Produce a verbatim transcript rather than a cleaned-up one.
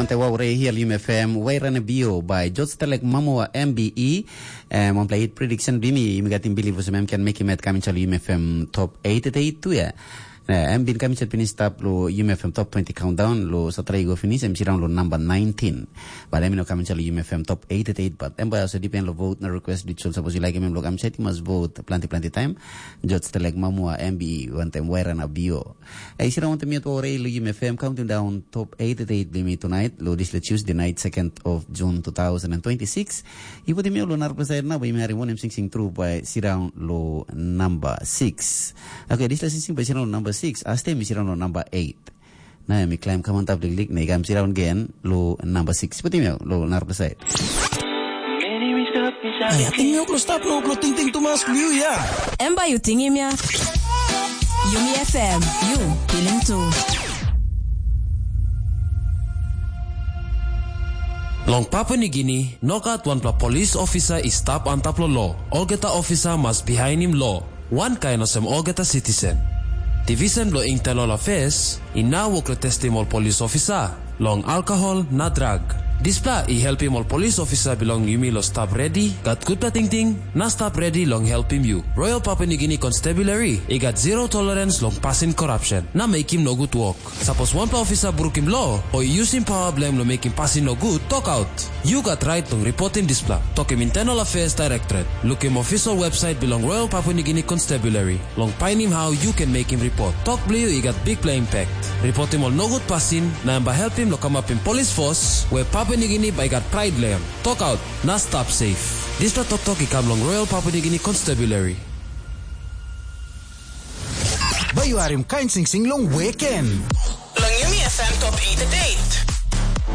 Te wau rei hial U M F M, wai rana bio by George Telek Mamua M B E. Um, on play hit prediction bimi, yumi gat im believe usum em can make him at coming to U M F M top eight at eight tu ya. Em bin coming to finish stap lo U M F M top twenty countdown lo satra i go finish em sirang lo number nineteen. But em no coming to U M F M top eight at eight, but em by also depend lo vote na request digital. Suppose you like him lo coming to, you must vote plenty plenty time. George Telek Mamua M B E one time wai rana bio. Ei, sira wantem yet wore i lugim F M counting down top eight at eight bimi tonight, lo dispela Tuesday night, second of June two thousand and twenty-six. I putim yau lo narapela side na, bai mi harim wanem singsing tru bai siraun lo number six. Okay, dispela singsing bai siraun lo number six, aste mi siraun lo number eight. Na mi climb come on top liklik, na i kam siraun again lo number six. Putim yau lo narapela side. Ai, ating yau lo stap lo lo tingting tumas lo yu ya. Em bai yu tingim ya. Yumi F M, yu pilim tu. Long Papua Nigini, no gat wanpela polis ofisa i stap antap lo lo. Olgeta ofisa mas bihainim lo. Wankain olsem olgeta sitisen. Divisen bilong Internal Affairs i nau wok long testim ol polis ofisa long alkohol na drag. Dispela i helpim ol polis ofisa bilong yumi lo stap redi, gat gutpela tingting, na stap redi long helpim yu. Royal Papua Nigini Constabulary i gat zero tolerance long pasin korapsen na mekim nogut wok. Sapos wanpela ofisa brukim lo o i yusim pawa bilong em long mekim pasin nogut, tokaut. Yu gat rait long ripotim dispela. Tokim Internal Affairs Directorate. Lukim official website bilong Royal Papua Nigini Constabulary long painim hau yu ken mekim ripot. Tok bilong yu i gat bikpela impact. Ripotim ol nogut pasin na em bai helpim long kamapim polis fos we Papua Nigini bai gat prait long em. Tokaut na stap safe. Dispela toktok i kam long Royal Papua Nigini Constabulary. Bai yu harim kain singsing long weekend.